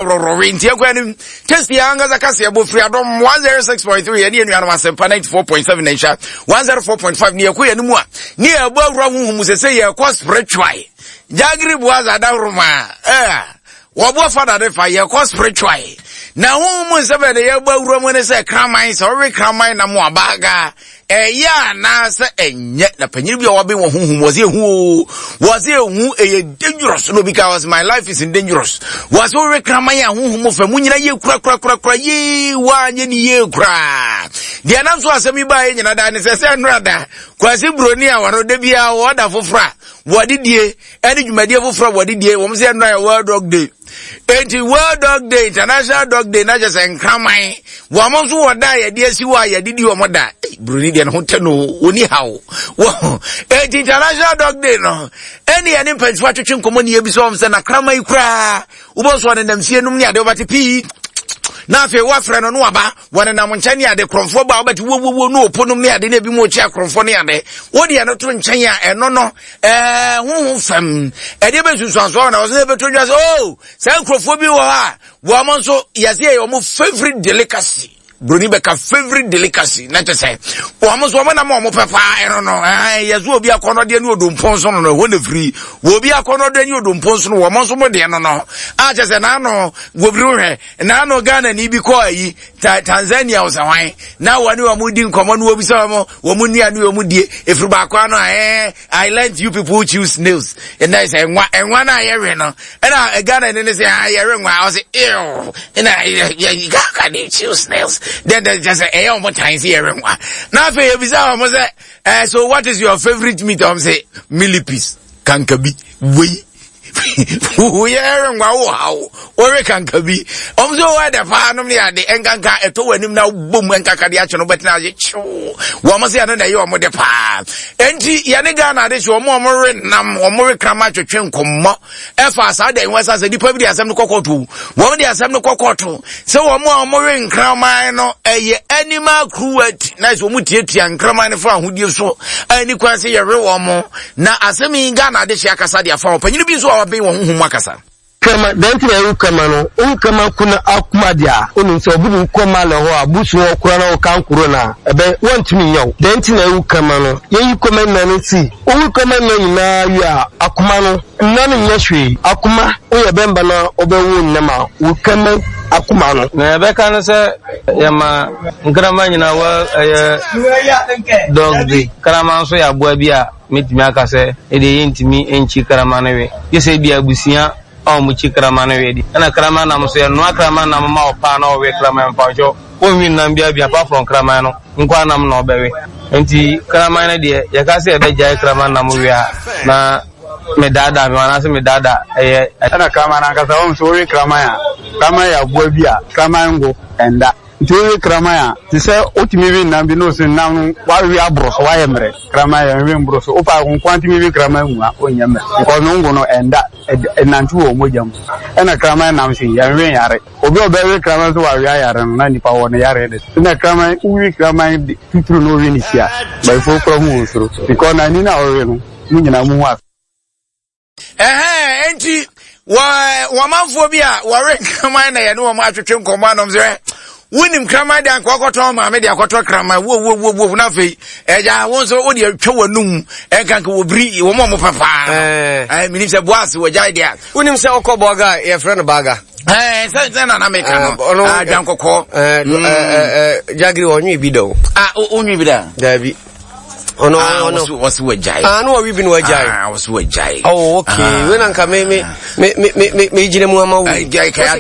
Rɔrɔwe nti ɛkɔ anim testi ankasa kaseɛ bɔ firi adom 106.3 ɛne anuanom asɛmpa 94.7 na nhyɛ 104.5 ne yɛkɔ yɛn mu a ne yɛbɔ awura honhom mu sɛ sɛ yɛkɔ spiritual jagiri boaza dahoroma ɛɛ wɔboa fada de fa yɛkɔ spiritual na honhom mu nsɛm ɛde yɛbɔ awura mu ne sɛ kraman sɛ ɔwe kraman na mo abaga Ɛyɛ anaasɛ ɛnyɛ na panyin bi a waben wɔ honhom wɔ sɛ ehu o wɔ sɛ ehu ɛyɛ dangerous na obi ka wɔ sɛ my life is in dangerous wɔ sɛ wowe kraman a honhom fɛ mu nyina yie kura kura kura kura yie wanyɛ ne yie koraa deɛ nam so asɛm yi baa yɛ nyina daa ne sɛ sɛ nnora da kwasi buroni a wɔno da biara wɔda foforɔ a wɔde die ɛne dwumadie foforɔ a wɔde die wɔn sɛ nnora yɛ world dog day Enti World Dog Day, International Dog Day, na kyerɛ sɛ nkraman, wɔn nso wɔ da a yɛde asi hɔ a yɛde di wɔn da. Buroni deɛ ne ho tɛ no, wɔni haw. Wɔn enti International Dog Day no, ɛne yɛne mpanyinfoɔ atwetwe nkɔmɔ ne yɛbisa wɔn sɛ na kraman yi koraa, wobɔ so ɔnenam fie nom ne ade wɔbɛte pii. Na afei wɔafrɛ no no waba, wɔnenam nkyɛn ne ade korɔmfoɔ ba wobɛte wowwowo ne ɔpo nom ne ade ne ebi mu ɔkyi akorɔmfoɔ ne ade. Wodeɛ no to nkyɛn a ɛno no ɛɛ honhom fam ɛdeɛ bɛ nsunsuansoɔ na wɔsɛ ɛbɛtɔ dwa sɛ oh saa nkurɔfoɔ bi wɔ hɔ a wɔn nso yɛsɛ yɛ wɔn favorite delicacy broni bɛka favorite delicacy na kyɛ sɛ wɔn nso wɔn nam wɔn pɛ paa ɛno no ɛhɛn yɛsɛ obi akɔnɔdeɛ ne odompo nso no no ɛhɔ na firi wɔ obi akɔnɔdeɛ ne odompo nso no wɔn nso mo deɛ no no a kyɛ sɛ n'ano wɔbiri hwɛ n'ano Ghana ni bi kɔɔ ayi ta Tanzania wɔ sɛ hwan na wɔne wɔn di nkɔmɔ no wɔbisa wɔn wɔn nnuane wɔn die efiri baako ano a ɛɛ I learnt you people choose snails ɛnna sɛ nwa nwa na yɛwe no ɛna Ghana ni ne sɛ ah yɛwe nwa ɔsɛ ew ɛna yɛ yɛ how can you choose snails then then kyɛ sɛ ɛyɛ wɔn tan sɛ yɛwe nwa na afei ebisa wɔn sɛ ɛɛ so what is your favourite meat wɔn sɛ millipedes kankabi wei. Woyɛ nwa wo haw wɔwe kanka bi ɔm sɛ wɔyɛ dɛ paa nom ne ade ɛnkanka ɛtɔ w'anim na wobɔ mu ɛnkanka de akyɛ no wobɛtena ase kyew wɔn sɛ ɛno na ɛyɛ wɔn de paa enti yɛne Ghana ade hyɛ wɔn a wɔwe nam wɔn we krama twetwe nkɔmmɔ ɛfa saa da yi ho ɛsa sɛ nipa bi de asɛm no kɔkɔto wɔn de asɛm no kɔkɔto sɛ wɔn a wɔwe nkraman no ɛyɛ animal cruelty na sɛ wɔn tiatia nkraman no fa ahodie so ɛni kwan sɛ yɛwe wɔn na asɛm yi Ghana adehye akasa de afa ɔpanyin bi nso a waben wɔn honhom mu akasa. Kama, dɛn nti na ewu kama no? Owu kama ku na akuma deɛ a, wonim sɛ obi de wo kɔ Malɛ hɔ a, busu hɔ koraa na woka nkoro no a, ɛbɛ, wɔntumi nyɛ wo. Dɛn nti na ewu kama no? Yɛyi kɔma nna no si. Wowu kama nna nyinaa wie a, akoma no, nna no nyɛ hwee. Akoma, woyɛ bɛmba na wobɛwo nnam a, wo kama akoma no. Nea yɛbɛka ne sɛ yɛma nkraman nyinaa wɔ ɛyɛ dog day. Kraman nso yɛ aboa bi a mɛtumi aka sɛ ɛdeɛ yɛntumi nkyi kraman no we. Gye sɛ ebia abusua a wɔkyi kraman no we deɛ. Ɛna kraman nam nso yɛnoa kraman nam ma ɔpaa na ɔwe kraman mpakyɛw ɔnwi nam biara bi apart from kraman no nkoa nam na ɔbɛwe. Nti kraman no deɛ yɛka sɛ yɛbɛgyae kraman nam we a na medaadaa me ho anaasɛ medaadaa ɛyɛ. Ɛna kraman no ankasa wohu sɛ wowe kraman a, kraman yɛ aboa bi a kraman ngo ɛnda. Nti wowe kraman a, te sɛ wotumi we nam bi na ose nam no wawe aboro so, wayɛ mmerɛ. Kraman yɛ nwe mboro so. Wopa wo nkoa tumi we kraman mua, wonyɛ mmerɛ. Because no ngo no ɛnda, ɛnante wɔ mogya mu. Ɛna kraman nam se yɛnwe nyare. Obi a ɔbɛwe kraman so wawe ayare no na nipa wɔ no yareɛ de. Ɛna kraman, wowe kraman de tuturu na wowe ne ti a, bayifoɔ kora hu wɔn suro. Because n'ani no a wowe no, mo nyinaa mo hu ase. Ɛhɛn, enti wɔ wɔmanfoɔ bi a wɔwe nkraman na yɛne wɔn atwetwe nkɔmmɔ anom sɛ wonim kraman de anka wɔkɔtɔn maame de akɔtɔ kraman wo wo wo wo na afei ɛgya wo nso wode atwa w'anum ɛnka nka wɔbiri wɔn a wɔpɛ paa ɛɛ menim sɛ boase wɔgyae deɛ a wonim sɛ wokɔ bɔga a yɛfrɛ no baga ɛɛ sɛ sɛ nana meka no adwankɔkɔɔ jagiri ɔnwe bi da o ah wonwe bi da daabi ɔno ah, ɔno wɔsi wagyae ah no wɔwi bi no wagyae ah wɔsi wagyae oh okay ah. wei na nka me me me me me me gyina mu ama wo wɔsi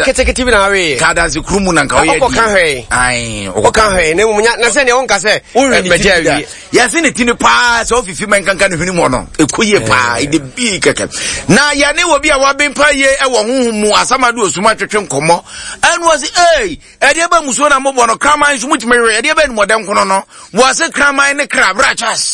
ketekete bi na awe ka adansi kuru mu na nka ɔyɛ di ɔkɔ ka hwɛ ayi ɔkɔ ka hwɛ na mu na sɛ nea wɔnka sɛ mɛgya awie yɛsi ne ti ni paa sɛ ɔfifi mɛ nkanka ne hwene mu ɔno eko yie paa ɛde bii kɛkɛ na yɛne wɔ bi a wabempa yie ɛwɔ huhu mu asamado osuma twetwe nkɔmɔ ɛnu ɔsi ee Ɛdeɛ bɛ musuo na mobɔ no kraman nso mutumi we ɛdeɛ bɛ nimɔdɛ nkono no wɔase kraman ne kra bra chas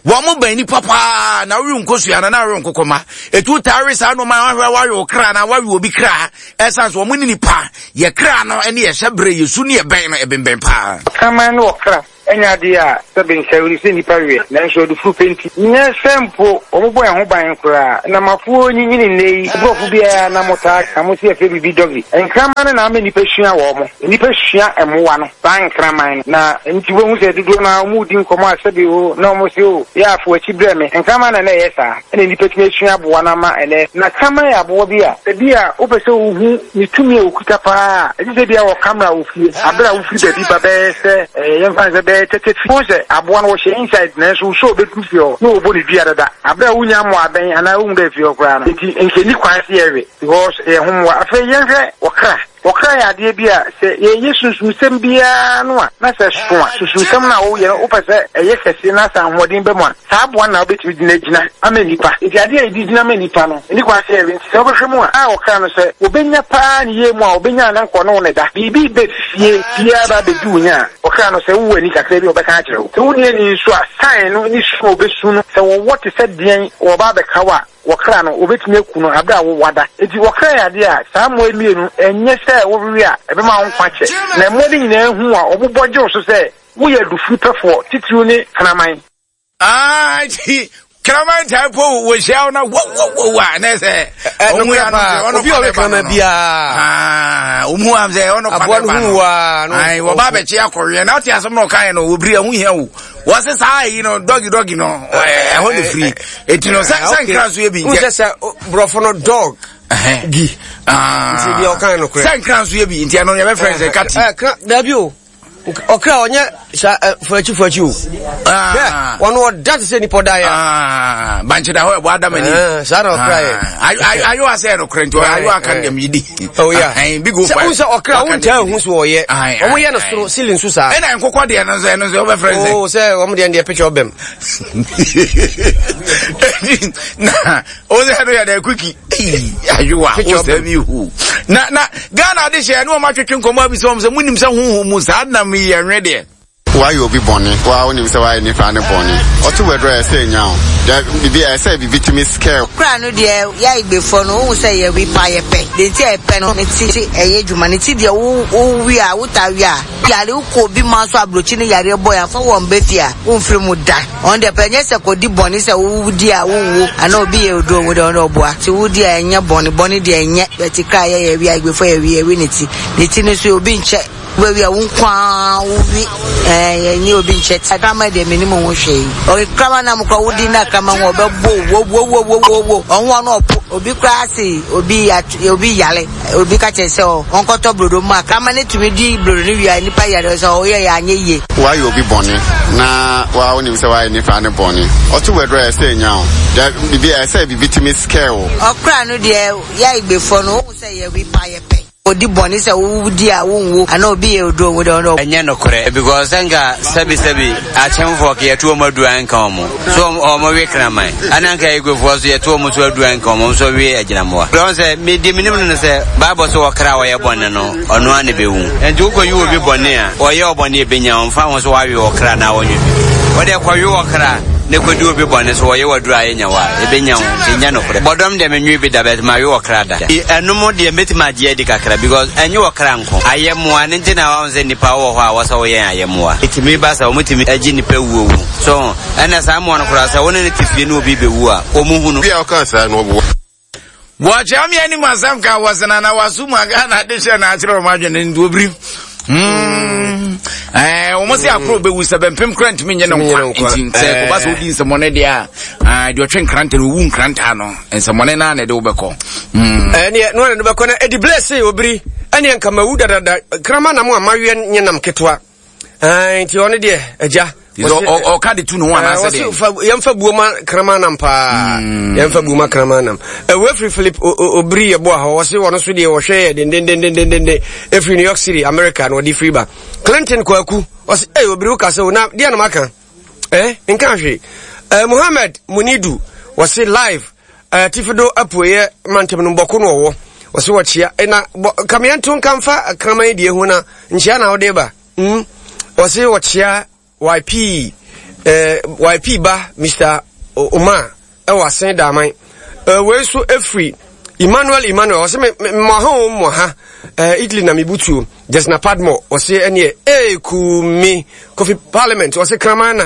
wɔn mo bɛn nipa paa na wowe nkosua na na wowe nkokɔma etu taa we saa nneɛma ahwɛ wawe wo kra na wawe obi kra ɛsan so wɔn ne nipa yɛ kra no ɛne yɛ hyɛ bere yɛ su ne yɛ bɛn no ɛbɛnbɛn paa. Kraman no wɔ kra. Ɛnyɛ adeɛ a sɛbe nsɛwere sɛ nnipa weɛ, nanso adufuru pɛ nti. Nyɛ sɛ mpo wɔbɔ yɛn ho ban koraa. Nnamafoɔ nyinyini nnɛ yi, borɔfo biara na motaa ka, mose yɛfrɛ biribi doggy. Nkraman no na ama nnipa sua wɔn. Nnipa sua mmoa no, saa nkraman no. Na nti wobɛhu sɛ dodoɔ no ara wɔredi nkɔmmɔ a sɛbe o, na wɔse o, yɛ a fa w'akyi brɛ me. Nkraman na na ɛyɛ saa. Ɛna nnipa tumi asua aboa no ama ɛnnɛ. Na kraman yɛ aboa bi a, ebia wopɛ sɛ wohu ne tumi a okuta paa a, ɛgye sɛ ebia wɔ camera wɔ fie. Bere a wofiri baabi ba bɛyɛ sɛ ɛɛ yɛmfa no sɛ bɛyɛ tɛtɛ fi, wohu sɛ aboa no wɔhyɛ inside nanso wo sɛ obedu fie hɔ na wɔbɔ ne dua dada. Bere a wunnya mmoa abɛn anaa wonhu dɛ fie hɔ koraa no. Enti nka enni kwan sɛ yɛwe because ɛyɛ ho mmoa. Afei yɛnhwɛ ɔkra. Ɔkra yɛ adeɛ bi a sɛ yɛyɛ sunsumsɛm biara no a, na sɛ ɛso a, sunsumsɛm no a woyɛ no wopɛ sɛ ɛyɛ kɛse na sɛ ahoɔden ba mu a, saa aboa no na wobɛtumi de no agyina ama nnipa. Enti adeɛ a yɛde gyina ma nnipa no, ɛnni kwan sɛ yɛwe. Nti sɛ wobɛhwɛ mu a, a ɔkra no sɛ wɔbɛnya paa ne yie mu a, wɔbɛnya a na nka ɔne wo na ɛda. Biribi reba fie biara ba abɛdi wo nya a, ɔkra no sɛ wowɔ ani kakra bi a ɔbɛka akyerɛ wo. Sɛ wonni ani nso a, sign no ne su a ɔbɛsu no, sɛ wɔwɔ te sɛ deɛn wɔreba abɛka wo a, Wɔkra no, wɔbɛtumi aku no berɛ a wowɔ ada. Enti wɔkra yɛ adeɛ a, saa mmoa yi mmienu, ɛnyɛ sɛ wowewe a, ɛbɛma wo nkwa kyɛ. Na mmoa no nyinaa hu wo a, wɔbobɔ gye wo so sɛ woyɛ adufudepɛfoɔ, titiriw ne kraman. Ah, nti kraman taa po wɔhyia wo na wowowowo a na sɛ ɔmu ya no ɔno obi a ɔyɛ kraman biara ɔmu am sɛ ɔno fa ne ba no wɔba abɛkye akɔweɛ na wote asɛm na ɔkaeɛ no wɔbiri ɛho hia wo wɔse saa ayi no dɔgi dɔgi no ɛhɔ ne firi eti no sɛ sɛ nkira nso yɛ bi nkyɛ sɛ borɔfo no dog gi nti deɛ ɔkan no korɛ sɛ nkira nso yɛ bi nti ɛno yɛbɛfrɛ sɛ kati dabi o ɔkra ɔnyɛ sa fuakyi fuakyi o ah. wɔn ɔda te sɛ nipa ɔda yɛ ah, bankye da hɔ ɛbɔ adam ani eh, saa na ɔkra yɛ ayo asɛ no korɛ nti ayo aka no dɛm yi di oh yeah bi go fa sɛ ɔkra wo ntaa hu so ɔyɛ wɔn yɛ no soro ceiling so saa ɛna nkokɔ deɛ no nso ɛno nso wɔbɛfrɛ sɛ oh sɛ wɔn deɛ deɛ picture ɔbɛm na o sɛ ɛno yɛ dɛ kuki ayowa o sɛ mi hu na na Ghana de hyɛ ɛne wɔn atwetwe nkɔmɔ abisa wɔn sɛ mo nim sɛ huhu mu saa nam yi yɛ nwe deɛ. Woayɛ obi bɔne, wo ara wonim sɛ woayɛ nipa no bɔne. Ɔto w'aduru a, ɛsɛ nya wo. Da, biribi, ɛsɛ biribi tumi scare wo. Kora no deɛ yɛ Igbefoɔ no wohu sɛ yɛwe paa yɛpɛ deɛ nti a yɛpɛ no ne ti ɛyɛ adwuma ne ti deɛ wo wo we a wo taa we a yare wokɔ obi man so abrokyi ne yareɛ bɔ yɛ afa wɔn bɛ fie a wo nfiri mu da wɔn deɛ pɛ nyɛ sɛ kɔ di bɔne sɛ wo di a wo nwu anaa obi yɛ oduro wo deɛ wɔn deɛ ɔboa ti wo di a ɛnyɛ bɔne bɔne deɛ ɛnyɛ bɛti kra yɛ yɛ we a Igbefoɔ yɛ we yɛ we ne ti ne ti no so obi nkyɛ Wobɛwe a wo nko ara wo we ɛɛ yɛnye obi nkyɛ ti. Kraman deɛ menim ho hwee. Ɔyɛ kraman nam koraa wodi na kraman ho ɔbɛbɔ wo wo wo wo wo wo ɔho ɔno ɔpo obi koraa se obi obi yare obi ka kyerɛ sɛ ɔnkɔtɔ brodo mu a kraman no tumi di brodo no wie a nipa yare sɛ ɔyɛ yɛ anyɛ yie. Woayɛ obi bɔne na wo ara wonim sɛ woayɛ nipa no bɔne. Ɔto w'aduru a ɛsɛ nya wo. Da biribi ɛsɛ biribi tumi scare wo. Ɔkra no deɛ yɛ Igbefoɔ no wohu sɛ yɛwe paa yɛpɛ. Odi bɔne sɛ wo di a wo nwu anaa obi yɛ oduro wo de ɔno. Ɛnyɛ nokorɛ because sɛ nka sɛbi sɛbi akyemfoɔ ka yɛto wɔn aduru anka wɔn so wɔn we kraman ɛna nka Eguefoɔ so yɛto wɔn so aduru anka wɔn nso we agyinamoa. Wɔn sɛ me deɛ menim no no sɛ Bible so ɔkra a ɔyɛ bɔne no ɔno ara na ɛbɛwu nti wokɔyi obi bɔne a ɔyɛ ɔbɔne ɛbɛnya ɔmfa ho sɛ wawe ɔkra na wɔnwe bi wɔde kɔwe ɔkra na kɔdi obi bɔne so wɔyɛ waduru a ɛnya wa ɛbɛnya wo ɛnya nokorɛ bɔdɔm deɛ menwe bi da bɛt mawe ɔkra da. Ɛno mo deɛ mɛtumi agye adi kakra because ɛnyɛ ɔkra nko ayɛmmoa no nti na wahu sɛ nnipa wɔ hɔ a wɔsɛ woyɛn ayɛmmoa ɛtumi ba sɛ wɔtumi agye nnipa wuo wu so ɛna saa mmoa no koraa sɛ wo ne no te fie ne obi bɛwu a wɔn hunu. Bi a ɔka saa no ɔboa. Wɔkyea me anim asɛm ka wɔsena na waso mu aga na ade hyɛ na akyerɛ wɔn adwene nti obiri. Hmm. Eh, wɔn sɛ akoro bɛwu sɛ bɛmpem kora ntumi nyɛ no nkwa nti sɛ eh. kɔba sɛ wodi nsɛmmɔne deɛ a ah, deɛ ɔtwe nkrantɛ no owu nkrantɛ no nsɛmmɔne no a na ɛde wobɛkɔ. Hmm. Ɛneɛ eh, no na ɛde bɛkɔ na ɛdi blɛ se obiri ɛneɛ nka mawu dadada krama nam a maweɛ nyɛ nam ketewa nti ɔno deɛ agya ɔka de tu ne ho anaasɛ deɛ yɛmfa buo ma kraman nam paa hmm. yɛmfa buo ma kraman nam ɛwɔ afiri philip obiri yɛ boa hɔ wɔse wɔno so deɛ wɔhwɛ yɛ dendendendendenden ɛfiri new york city america na ɔde firi ba clinton kwaku ɔse ei obiri woka sɛ wo na deɛ na maka eh nka hwee eh, mohammed munidu wɔse live eh, tifido apueɛ mantam no bɔko no ɔwɔ wɔse wɔkyea eh, na kameɛnto nka mfa kraman deɛ ho na nkyea na wode ba mm. wɔse wɔkyea YP eh, YP ba Mr. Omar ɛwɔ asen daaman eh, wei nso ɛfiri Emmanuel Emmanuel ɔsɛ me mmɔ ha o mmɔ ha eh, Italy na mebutuo. Jesna Padmore ɔsɛ ɛneɛ ee kumi. Kofi Parliament ɔsɛ kraman na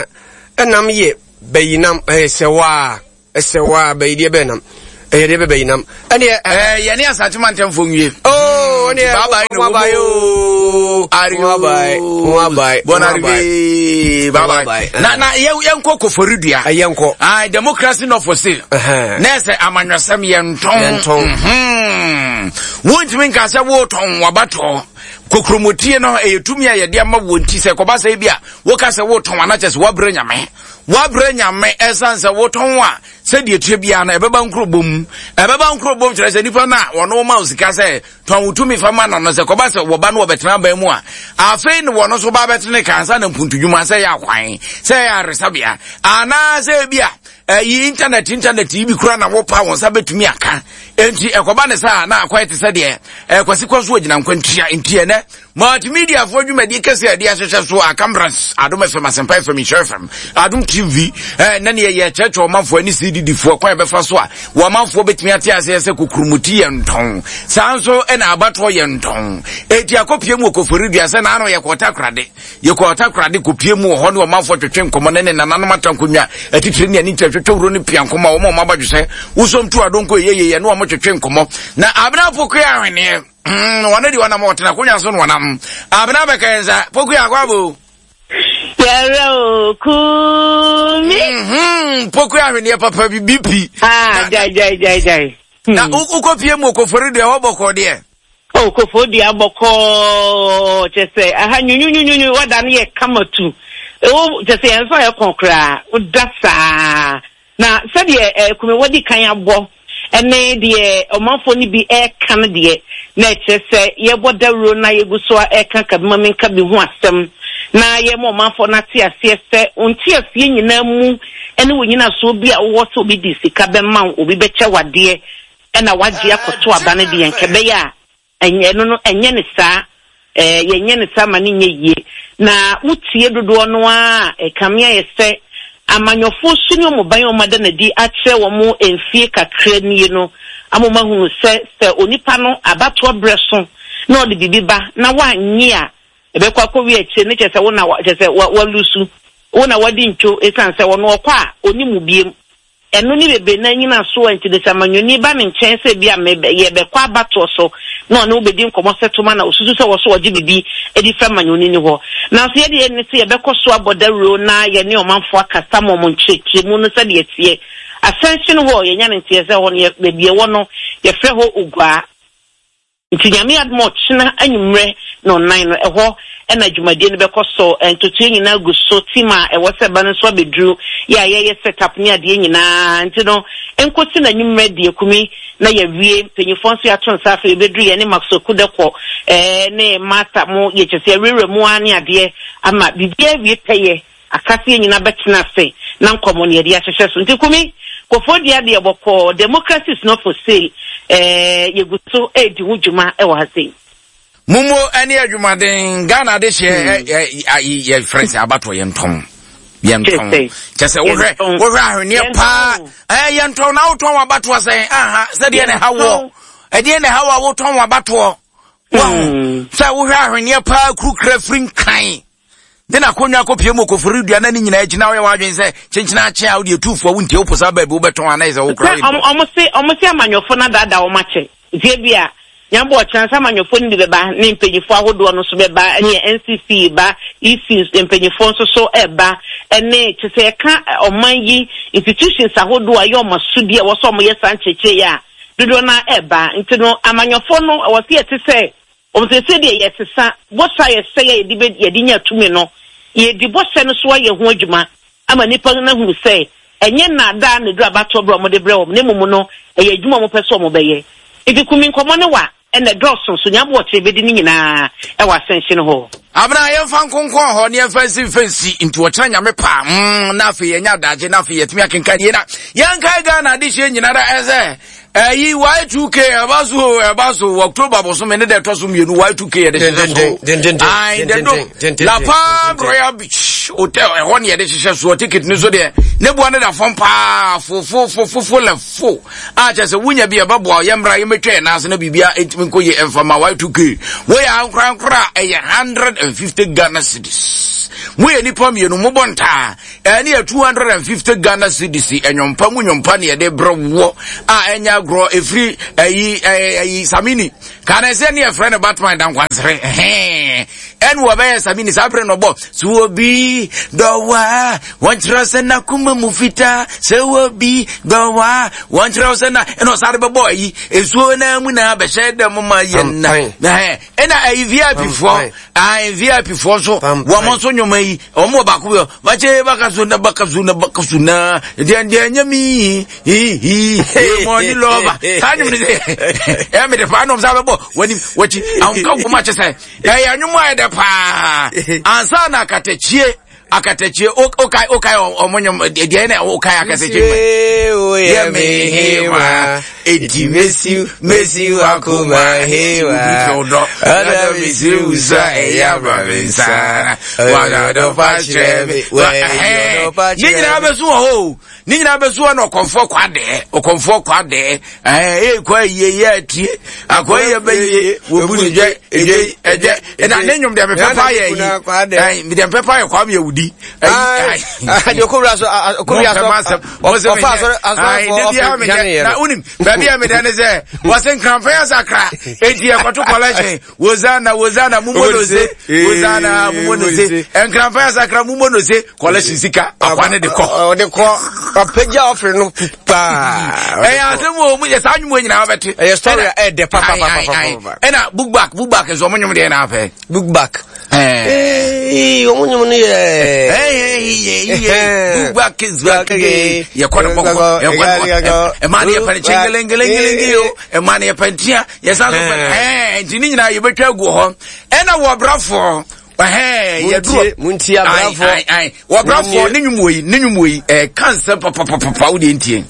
ɛnam yɛ bayinam ɛyɛ sɛwaa. Ɛsɛ wo a bɛyi deɛ bɛn nam. Ɛyɛ deɛ bɛ bɛyi nam. Ɛneɛ. Ɛɛ yɛne Asante mantamfoɔ nwie. Oh, ɛneɛ. Bye bye no. Bye bye oh. Ario. Bye bye. Bye bye. Bon arrivé. Bye bye. Na na yɛ yɛnkɔ Koforidua. Yɛnkɔ. Ah, democracy not for sale. Na ɛsɛ amanyɔsɛm yɛntɔn. Yɛntɔn. Wontumi nka sɛ wotɔn wabatɔ. Kokromotie no ɛyɛ tumi a yɛde ama wɔn ti sɛ kɔba sɛ bi a woka sɛ wotɔn anakyɛ sɛ woabrɛ nyame. Woabrɛ Nyame ɛsiane sɛ wotɔn a sɛdeɛ ɛteɛ biara no ɛbɛba nkurobɔ mu. Ɛbɛba nkurobɔ mu kyerɛ sɛ nipa no a wɔno ma wo sika sɛ tɔn wo tumi fa ma no no sɛ kɔba sɛ wɔba no wɔbɛtena aban mu a afei ne wɔno nso ba bɛtene ka ansa na mpuntudwuma sɛ ɛyɛ akwan sɛ ɛyɛ aresabea anaasɛ ebi a ɛyi internet internet yi bi kura na wopa wɔn nsa bɛtumi aka enti ɛkɔba ne saa na akɔyɛ te sɛ deɛ ɛkwasi kɔ so agyina nkwantua nti ɛnɛ Multimediafoɔ dwumadie kɛseɛ a yɛde ahyehyɛ so a cameras Adom FM, Asɛmpa FM, Nhyira FM, Adom TV eh, na neɛ yɛkyerɛkyerɛ ɔmanfoɔ ne CDD foɔ kwan yɛbɛfa so a wɔmanfoɔ bɛtumi ate aseɛ sɛ kokurumuti yɛ ntɔn saa nso ɛna abatoɔ yɛ ntɔn eti akɔpie mu wɔ Koforidua sɛ naano yɛkɔɔ Takorade yɛkɔɔ Takorade kɔpie mu wɔ hɔ ne ɔmanfoɔ twetwe nkɔmmɔ ne ne nananom atankonwa atitire ne ani nkyerɛ twetwe wuro ne pia nkɔmmɔ a wɔn a wɔn abadwo sɛ wosom tu adonko yɛyɛ yɛ ne wɔn twetwe nkɔmmɔ na Abena Pokuya ahweneɛ Wɔn de wɔnam ɔtena akonnwa so na wɔnam. Abena bɛka yɛn nsa. Poku akɔ abo. Yɛrɛ o kumi. Mhm, poku ahweneɛ papa bi BP. Ah, jai jai jai jai. Na wokɔ pie mu okofori deɛ hɔ bɔkɔɔ deɛ. O kofo dua bɔkɔɔ kyɛ sɛ aha nyunyunyunyu wada no yɛ kama tu. Ewo kyɛ sɛ yɛn nso ayɛ kɔn koraa woda saa. Na sɛdeɛ eh, Kumewa di kan abɔ ne deɛ ɔmanfoɔ no bi reka no deɛ, na ɛkyerɛ sɛ yɛrebɔ dawuro na yɛgu so ara reka kabimamenkabi ho asɛm, na yɛrema ɔmanfoɔ no ate aseɛ sɛ wo nteaseɛ nyinaa mu ne wo nyinasoɔ bi a wowɔ sɛ obi de sika bɛma wo, obi bɛkyɛ wo adeɛ na woagye akɔto aba no deɛ, nka ɛbɛyɛ a Ɛnyɛ, ɛno no, ɛnyɛ no saa. Ɛɛ, yɛnyɛ no saa ma no nyɛ yie. Na wotie dodoɔ no ara a, ɛkame ayɛ sɛ amanyɔfoɔ su ne wɔn ban a wɔada no adi akyerɛ wɔn mfie kakra nie no ama wɔahunu sɛ, sɛ onipa no abatoɔ berɛ so na ɔde biribi ba na woannye a, ɛbɛkɔ akɔwie akyire no kyerɛ sɛ wo na, kyerɛ sɛ walusu, wo na wadi ntwo ɛsiane sɛ ɔno ɔkɔ a ɔnni mu biom. Ɛno ne bebree no ara nnyinasoɔ a nti no sɛ amanyɔni ba ne nkyɛn sɛ ebia mebɛ, yɛrebɛkɔ abatoɔ so na ɔne wo bɛdi nkɔmmɔ sɛ toma na ɔsusu sɛ wɔ so ɔgye biribi de firi amanyɔni no hɔ. Nanso yɛn deɛ ne sɛ yɛbɛkɔ so abɔ dawuro na yɛne ɔmanfoɔ akasa ma wɔn nkyerɛkyerɛmu no sɛdeɛ ɛteɛ. Ascension Hall, yɛnya no nteɛ sɛ hɔ no yɛ, baabi ɛwɔ no yɛfrɛ hɔ Oguaa. Nti Nyame adom a ɔkyena anwummerɛ nɔnnan no ɛhɔ na dwumadie no bɛkɔ so. Ntotoeɛ nyinaa gu so, team a ɛwɔ sɛ ɛba no nso abɛduru, yɛ a yɛyɛ set up ne adeɛ nyinaa. Nti no nkosi no anwummerɛ deɛ kumi na yɛawie. Mpanyinfoɔ nso yɛato nsa afei yɛbɛduru yɛne Max Okudɛkɔ ne Martha mo yɛ kyerɛ sɛ yɛawurawura mu ara ne adeɛ ama biribiara awie pɛyɛ. Aka sɛ yɛn nyinaa bɛtena ase na nkɔmmɔ no yɛde ahyehyɛ so. Nti Kumi, Kofoɔ dua deɛ bɔkɔɔ, democracy is not for sale, eh, yɛgu so redi ho dwuma wɔ ha sei. Momo ɛne adwumaden Ghana adehyeɛ yɛ frɛ sɛ abatoɔ yɛntɔn yɛntɔn kyɛ sɛ wohwɛ wohwɛ ahweneɛ paa ɛɛ yɛntɔn na wotɔn wabatoɔ sɛn aha sɛdeɛ na ɛha woɔ ɛdeɛ na ɛha wɔ a wotɔn wabatoɔ wɔn sɛ wohwɛ ahweneɛ paa kurukura firi nkran de n'akonnwa akɔpie mu okofori dua na ne nyinaa akyi na woyɛ w'adwene sɛ kyenkyena akye a wode etu fo a wontie wo posa baabi wobɛtɔn anaa sɛ wokora Sɛ ɔmo se ɔmo se amanyɔfo no adaadaa wɔn akyɛ nti ebia Nyame bɔ ɔkyena sɛ amanyɔfoɔ no bi bɛba ne mpanyinfoɔ ahodoɔ no nso bɛba ɛne NCC ba EC mpanyinfoɔ nso so ɛba ɛne kyɛ sɛ yɛka ɔman yi institutions ahodoɔ a ɛyɛ ɔmo asodie a ɛwɔ sɛ ɔmo yɛ saa nkyerɛkyerɛ yi a dodoɔ no ara ɛba nti no amanyɔfoɔ no ɛwɔ sɛ yɛte sɛ Wɔn seesei deɛ yɛresesa bɔhyɛ a yɛhyɛeɛ a yɛde bɛ yɛde nya tumi no. Yɛredi bɔhyɛ no so ayɛ ho adwuma ama nnipa no ahunu sɛ ɛnyɛ nnaadaa na ɛduru abatoɔ berɛ a wɔde brɛ wɔn na mmom no ɛyɛ adwuma a wɔpɛ sɛ wɔbɛyɛ. Nti Kumi nkɔmmɔ no wa ɛna ɛdɔɔso so Nyaboɔkyere bɛdi ne nyinaa wɔ Asɛnhye no hɔ. Abena yɛmfa nkonkɔn hɔ ne yɛmfa nsi mfa nsi nti ɔkyena nyame paa mm, na afei yɛnya adagye na afei yɛtumi akenkan yie na yɛnkae Ghana adehyeɛ nyinara ɛsɛ ɛyi y2k ɛba so o ɛba so wɔ october bosome ne deɛ ɛtɔ so mmienu y2k yɛde hyehyɛ so ayi the do la palm royal beach. Splash Hotel ɛhɔ ne yɛde hyehyɛ soɔ. Ticket no so deɛ ne boa no da fam paa fofofofofo lɛ fo a kyerɛ sɛ wonya bi ɛbɛboa yɛmmra yɛmmɛtwa yɛn nan ase na biribia ɛntumi nkɔ yie ɛmfa ma Y2K. Woyɛ ankorankora a ɛyɛ 150 Ghana cedis. Moyɛ nnipa mmienu mobɔ ntaa ɛne yɛ 250 Ghana cedis ɛnwompa mu nwompa ne yɛde brɛ woɔ a ɛnyɛ agorɔ ɛfiri ɛyi ɛyi Samini Kane sɛ ne yɛfrɛ no Batman dankwansere ɛhɛn ɛne wɔbɛyɛ Samini saa berɛ no ɔbɔ so obi dɔwa wɔnkyerɛ sɛ n'akoma mu fitaa sɛ obi dɔwa wɔnkyerɛ sɛ na ɛna ɔsare bɛbɔ ayi nsuo na mu na bɛhyɛ dɛm ma yɛ nna ɛna ayi VIP foɔ ayi VIP foɔ nso wɔn nso nnwoma yi wɔn wɔ baako bi bakye baka so na baka so na baka so na deɛ deɛ nyɛ mi hihi mɔni lɔba saa nnwom no sɛ ɛyɛ mede paa nom saa bɛbɔ w'anim w'akyi ahomka wom akyɛ sɛ ɛyɛ nnwom a ɛdɛ paa ansa na akatakyie akatakyie okae okae ɔmo nnwom deɛ na okae akatakyie yɛ me hewa eti mesi mesi wakoma hewa ɔdɔ mesi wusa ɛyɛ aba me nsa wadɔdɔ fa kyerɛ me ne nyinaa bɛso wɔ hɔ o ne nyinaa bɛso hɔ na ɔkɔmfoɔ kɔ adɛɛ ɔkɔmfoɔ kɔ adɛɛ ɛɛ ee kɔ ayie yɛ atie akɔ yɛ bɛyie wɔbu ne dwɛ edwe ɛdwɛ ɛna ne nnwom deɛ mepɛ paa yɛ yi ɛɛ deɛ mepɛ paa yɛ kwame awudi ɛyi ɛɛ okowura so okowura so ɔfa asɔre asɔrefoɔ ɔfɛ na wonim baabi a meda ne sɛ wɔse nkramfɛn asakra enti yɛkɔto kɔlɛhyɛn Hosanna, Hosanna, mumo no se. Hosanna, mumo no se. Nkramfa asakra mumo no se. Collection sika akwa ne de kɔ. Ɔde kɔ. Ɔpɛgya ɔfere no paa. Ɛyɛ asɛm wɔ mu yɛ saa nnwom nyinaa wobɛte. Ɛyɛ story a ɛdɛ pa pa pa pa pa. Ɛna book back, book back nso ɔmo nnwom deɛ na afɛ. Book back. Ee, ɔmo nnwom no yɛ. Book back is back again. Yɛkɔ no bɔkɔ, yɛkɔ no bɔkɔ. Ɛmaa ne yɛpɛ no kyengelengelengelenge o. Ɛmaa ne yɛpɛ ntia. Yɛsan so pɛ ɛɛ nti ne nyinaa yɛbɛtwa agu hɔ. Ɛna wɔ brafoɔ ɛhɛn yɛduru muntie abrafoɔ wɔ brafoɔ ne nnwom wɔ yi ne nnwom wɔ yi ɛɛ ka nsɛm papapapa wo deɛ ntie.